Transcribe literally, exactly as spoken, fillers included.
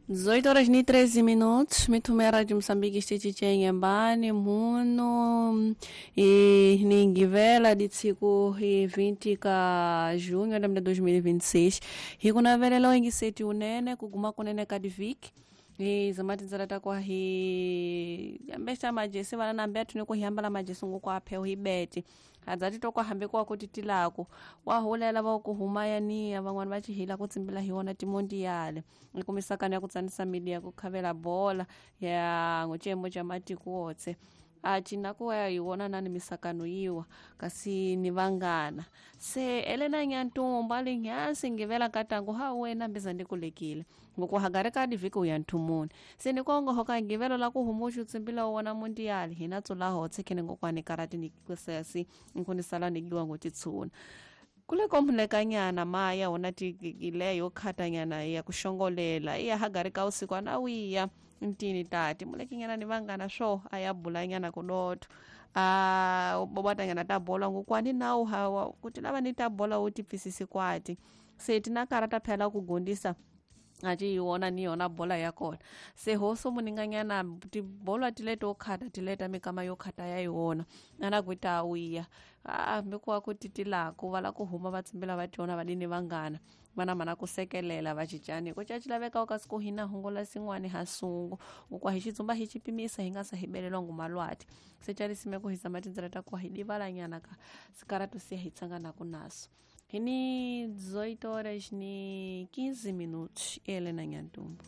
dezoito horas e treze minutos, mitumera de Moçambique estitichenyembani muno e ningivela de tsiku e vinte ka junho de dois mil e vinte e seis hikunavelela ingiseti unene kuguma kunene kadiviki e zamatinzela takwa hi ambesa majesi vana nambe atune kuhiyambala majesi ngokwaphe uhibete adzati tokwahambe kwakuti tilako wahulela vakuhumayaniya van'wana va cihila ku tsimbila hi wona timondiyale ikumisakana ya ku tsanisa mili ya ku khavela bola ya ngocembo ca matiko wotse acina kuya hi wona nani misakano yiwa kasi ni vangana se elena nyantumba linyansi ngivela katangu ha wena mbiza ndikulekile ngokuhagari ka diviki uya nthumuni se nikongoho ka ngivelo la ku humuxu tsimbila wona mondiyali hina tsula hotse khene ngokwani karati nikusesi nkunisala nigiwa ngotitshuna kule komulekanyana maya wona tileyo khatanyana ya kuxongolela iya hagari ka usiku anawiya ntini tati mulekinyana ni vangana swo a ya bulanyana kudotho a bobatanyana ta bola ngokwani nawu hawa kuti lava ni ta bola wu tipfisisi kwati se tina karata phela ku gondisa aci yi wona ni yona bola ya kona se hoso muninganyana tibola tileto khata tileta mikama yo khata ya yona ana kuita awiya ambikuwa kuti tilaku vala ku huma va tsimbila va tiona vadini vangana vana mana ku sekelela va cicani ko caci laveka kasi ku hina hongola sin'wani ha sungu ngokwa hi xitsumba hi xi pimisa hi nga sa hi belelwa ngumalwati se calisime ku hi zama tindzela ta kuwa hi divalanyana ka sikaratu siya hi tsanganaku naso Hini dezoito horas ni quinze minutos. Helena Nhantumbo.